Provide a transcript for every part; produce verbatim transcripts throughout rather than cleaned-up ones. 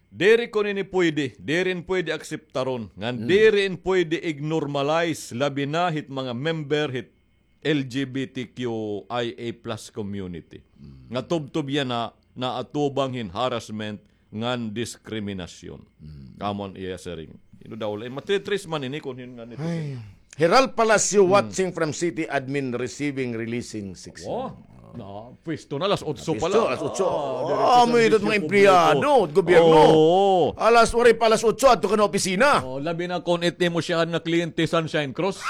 Diri ko nini pwede, diri in pwede akseptaron, ngan diri in pwede i-normalize, labi na hit mga member hit L G B T Q I A plus community. Nga tubtob yana naatubang hin harassment ngan diskriminasyon. Kamo an iya siring. Ino daw la, matitris man ini kon hin nga nito. Ay. Heral Palacio watching from city admin receiving releasing section. Oh, na, pwesto na, alas otso pa la. Alas otso. Ah, amo ito mga empleyado, gobyerno. Oo. Alas, waray pa alas otso, adto ka na opisina. Oh, labi na kon it imo siya nga kliyente, Sunshine Cross.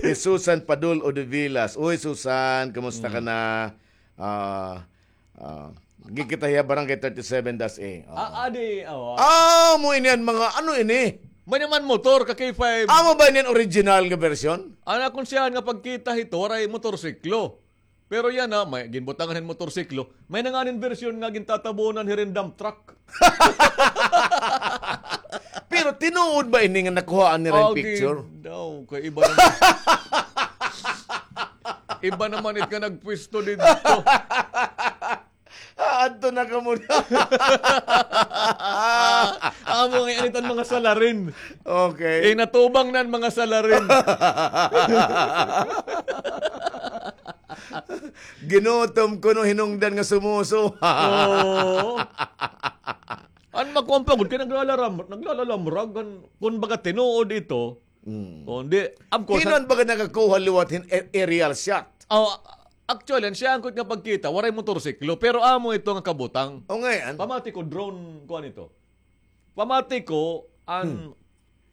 Si Susan Padul Odevilas. Uy, Susan, kumusta ka na? Ah, ah, gikita hiya Barangay thirty-seven dash A. Oo. Ah, adi, awa. Ah, mo ini an mga, ano ini? May naman motor ka K five. Amo ba ini an original nga version? An akon siya nga pagkita hito, waray motorsiklo. Pero yana, may ginbutangan hin motorsiklo. May na nganin version nga gintatabunan hirin dump truck. Pero tinuod ba ini nga nakuhaan nira hin picture? Daw, kay iba naman. Iba naman it nga nagpwesto didto. Ah, adto na kamo na. Amo nga anitan mga salarin. Okay. Eh, natubang na an mga salarin. Ginutom kuno, hinungdan nga sumuso. Oo. An makuan pa gud kay naglalaram-, naglalalamrag, an, kun baga tinuod ito. Mm. Kundi, of course, hin-o an baga nakakuha liwat hin a-, aerial shot? Oh, actually, an siya angkot nga pagkita, waray motorsiklo, pero amo ito nga kabutang. O, ngay-an? Pamati ko, drone, kuan ito. Pamati ko, an,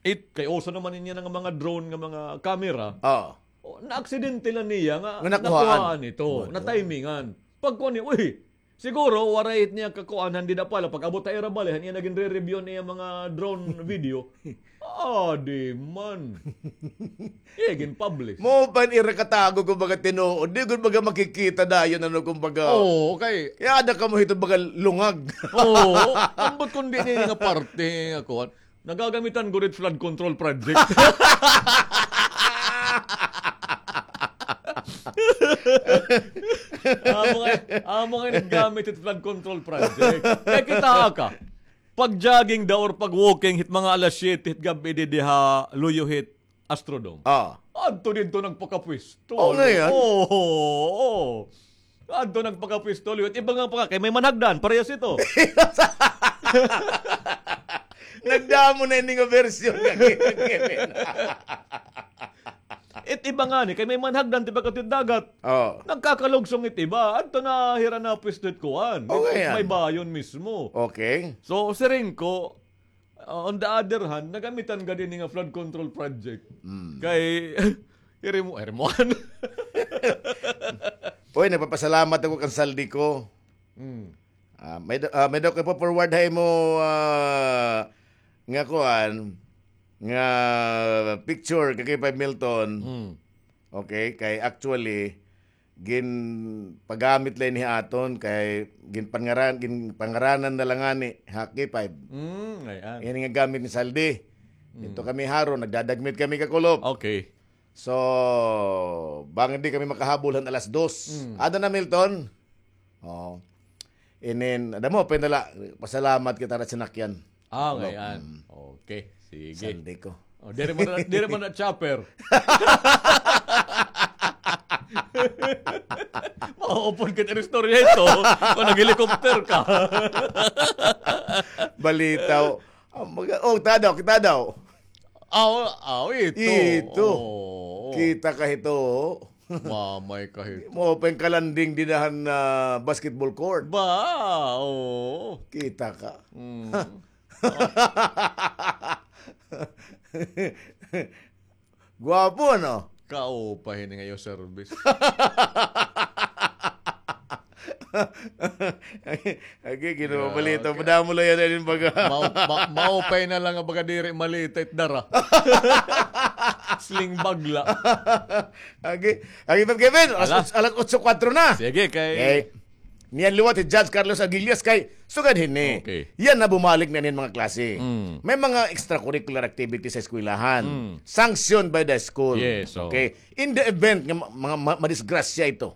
it, kay uso naman niya nga mga drone nga mga camera. Oo. O, naaksidente la niya nga nakuhaan ito, natimingan. Pagkuan niya, uy, siguro, waray it niya kakuan, han dida pala, pag-abot ha ira balay, han iya na ginre-review an iya mga drone video. Adi man. Iya ginpublish. Mao pa an ira katago, kumbaga, tinuod. Di gud baga makikita dayon, ano, kumbaga. Oo, kay iya ada kamo hito baga lungag. Oo, ambot kundi ini nga parte nga kuan. Nagagamitan gud it flood control project. Amo nga, amo nga naggamit it flood control project. Kay kita ka, pag-jogging daw or pag-walking hit mga alas siyete hit gab-i didi ha luyo hit Astrodome. Ah. Adto didto nagpakapwesto. Oo, ngay-an. Oo, oo. Adto nagpakapwesto, liwat. Iba nga pa nga, kay may manhagdan, parehas ito. Nagdamo na ini nga version nga Kevin. It iba ngani, kay may manhagdan, tiba ka dagat. Oh. Nagkakalugsong it iba. Adto na hira na pwesto it kuan. Okay, may bayon mismo. Okay. So, siring ko, Uh, on the other hand, nagamitan gad ini nga flood control project. Mm. Kay, iri mo, iri mo, ano? Uy, nagpapasalamat ako kan Zaldy ko. Mm. Ah, may da-, ah, may daw ko ipo-forward ha imo, ah, nga kuan, nga picture kay K five Milton. Mm. Okay, kay actually, ginpagamit la ini ha aton kay ginpangaran-, ginpangaranan na la ngani ha K five. Mm, ay-an. Ini nga gamit ni Zaldy. Mm. Didto kami haron, nagdadagmit kami kakulop. Okay. So, bangin di kami makahabol han alas dos. Mm. Ada na, Milton? Oo. Inin, ada mo, pinala, pasalamat kita na sinakyan. Ah, ngay-an. Okay, sige. Zaldy ko. Oh, diri man na, diri man na chopper. Maupod ka sa istorya ito. Kung nag-helicopter ka. Balitaw. Oh, mag-, oh, tadaw, kita daw. Aw, aw, ito. Ito. Oo. Kita ka ito. Mamay ka hito. Mao pa an kalanding dida han, ah, basketball court. Ba, oo. Kita ka. Mm. Gwapo, no? Kaupa hini nga iyo service. Agi, Ginoo, balita. Madamo la yana inin baga. Mao-, ma-, maupay na la nga baga diri malita it dara. Sling bag la. Agi, agi, Pep Kevin, alas, alas otso kuwatro na. Sige, kay niyan liwat hi Judge Carlos Aguilias kay sugad hini. Okay. Yana bumalik na inin mga klase. Mm. May mga extracurricular activities sa eskwelahan. Mm. Sanctioned by the school. Yes, oo. Okay. In the event nga ma-, mga ma-, madisgrasya ito,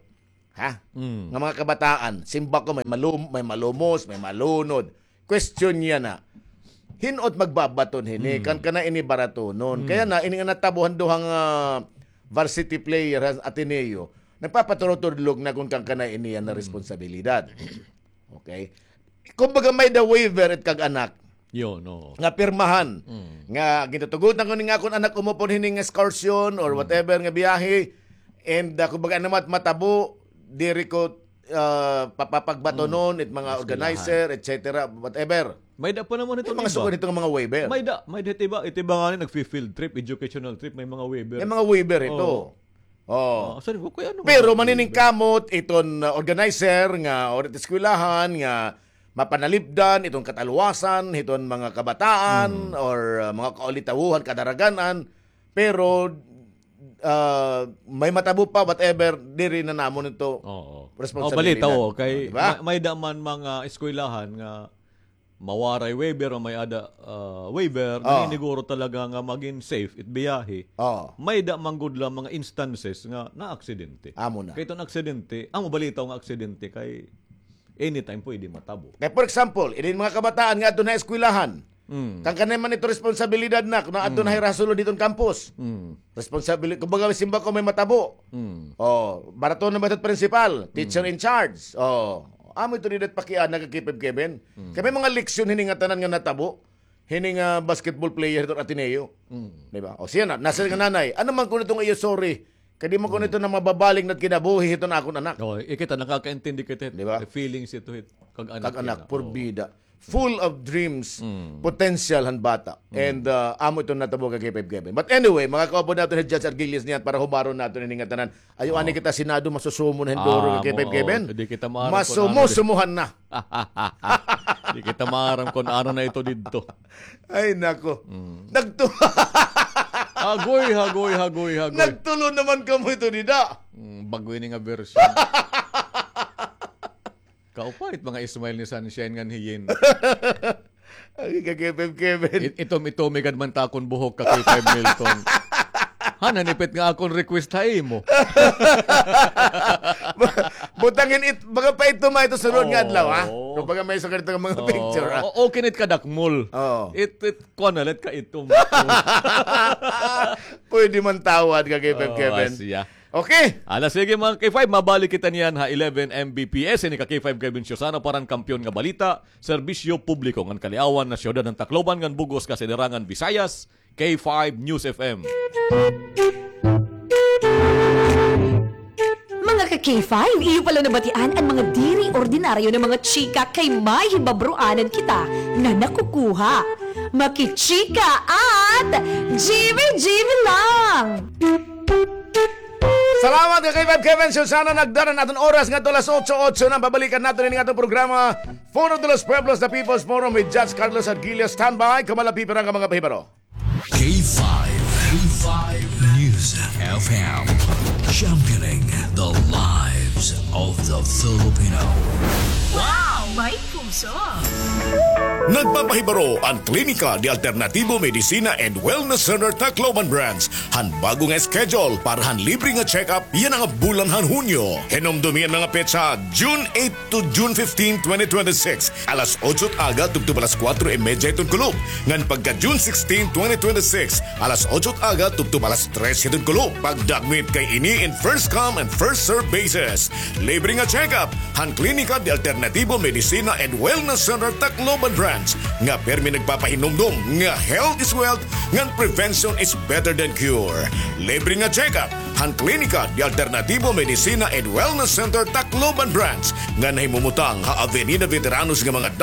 Ha? Mm. Nga mga kabataan, simba ko, may malum-, may malumos, may malunod. Question niya na. Hin-o it magbabaton hini, mm, kan kana ini baratonon. Mm. Kaya na, ini nga natabo han duha nga varsity player han Ateneo, nagpapaturutudlog na kon kan kana ini yana, mm, responsibilidad. Okay? Kumbaga, may-ada waiver it kag-anak. Yun, oo. Nga pirmahan. Mm. Nga, gintutugot na ko ni nga akon anak umupod hini nga excursion or, mm, whatever nga biyahe. And, ah, kumbaga, ano mat-, matabo, diri ko, ah, papapagbatonon, mm, it mga eskwelahan, organizer, et cetera, whatever. May-ada pa naman itong mga iba. Sugad itong mga waiver. May-ada, may-ada it iba, it iba nga ni nagfi-field trip, educational trip, may mga waiver. May mga waiver ito. Oo. Oh. Ah, sorry, okay, ano. Pero nga, maniningkamot iton, uh, organizer nga, or it eskwelahan nga mapanalipdan iton katalwasan hiton mga kabataan, mm, or, uh, mga kaulitawohan, kadaragan-an, pero, uh, may matabo pa, whatever, diri na namon ito, oo, responsibilidad. Oh, balita, oh, kay, oh, di ba? Ma-, may-ada man mga eskwelahan nga mawaray waiver o may-ada, ah, waiver, oh, naniniguro talaga nga magin safe it biyahe. Oh. May-ada man gud la mga instances nga naaksidente. Amo na. Kay iton aksidente, amo balita nga aksidente kay anytime pwede matabo. Kay, for example, inin mga kabataan nga adto na eskwelahan. Mm. Kan kanay man ito responsibilidad na, kung adto na, mm, hira sulod hiton campus. Mm. Responsibility, kumbaga, simba ko may matabo. Mm. Oh, baraton na ba ito principal, teacher, mm, in charge? Oh, amo ito dida it pakiana kay K five Kevin. Mm. Kay may mga leksyon hini nga tanan nga natabo. Hini nga basketball player hiton Ateneo. Mm. Di ba? O siya na, nasa nga nanay. Ano man kuno ito nga iyo sorry? Kay di man kuno ito na mababalik na it kinabuhi hiton akon anak. Oh, eh, kita, nakakaintindi kita. Di ba? The feelings ito hit kag-anak. Kag-anak, yana, porbida. Full of dreams, mm, potential han bata. Mm. And, uh, amo ito natabo kay K five Kevin. But anyway, mga kaupod naton hi Judge Argilius niyan para hubaron naton ini nga tanan. Ayaw ani kita Senado, masusumo na hin duro kay K five Kevin. Di kita maaram kon ano. Masumo-sumuhan na. Di kita maaram kon ano na ito didto. Ay, nako. Mm. Nagtu- Hagoy, hagoy, hagoy, hagoy. Nagtulo naman kamo ito dida. Mm, bag-o ini nga version. Kaupay it mga smile ni Sunshine ngan hi Yin. Ay, ka K five Kevin. It-, itom-itom gad man it akon buhok, ka K five Milton. Han, hanipit nga akon request ha imo. Butangin it, baga pa itom ito sunod nga adlaw, ha? Oo. Kumbaga may sukat ito nga mga picture, ha? Oo, okay na it kadakmol. Oo. It, it, kuan na la it kaitom. Pwede man tawad, ka K five Kevin. Oo, asya. Okay. Ala, sige, mga K five, mabalik kita niyan ha eleven M B P S. Ini ka K five Kevin Siusana para han Kampiyon nga Balita, Serbisyo Publiko ngan Kaliawan, Nasyudad han Tacloban ngan bug-os nga Siderangan Visayas, K five News F M. Mga ka K five, iyo pala nabatian an mga diri ordinaryo nga mga chika kay may hibabroanan kita nga nakukuha. Makichika at jimmy-jimmy lang! Salamat ka K five Kevin Siusana. Nagdara an aton oras ngadto alas otso, otso na. Babalikan naton ini nga aton programa, Foro de los Pueblos, The People's Forum with Judge Carlos Argilio. Standby, kamo la pipira nga mga pahibaro. K five, K five News F M, championing the lives of the Filipino. Wow! May puso! Nagpapahibaro an Klinika de Alternativo Medicina and Wellness Center Tacloban Branch han bag-o nga schedule para han libre nga check-up yana nga bulan han Hunyo. Hinumdomi an mga petsa, June eight to June fifteen, twenty twenty-six, alas otso it aga tubtob alas kuwatro y medya hiton kulop. Ngan pagka June sixteen, twenty twenty-six, alas otso it aga tubtob alas tres hiton kulop. Pagdagmit kay ini in first come and first serve basis. Libre nga check-up han Klinika de Alternativo Medicina and Wellness Center Tacloban Branch nga pirmi nagpapahinumdom nga health is wealth ngan prevention is better than cure. Libre nga check-up han Klinika de Alternativo Medicina and Wellness Center Tacloban Branch nga nahimumutang ha Avenida Veteranos nga mga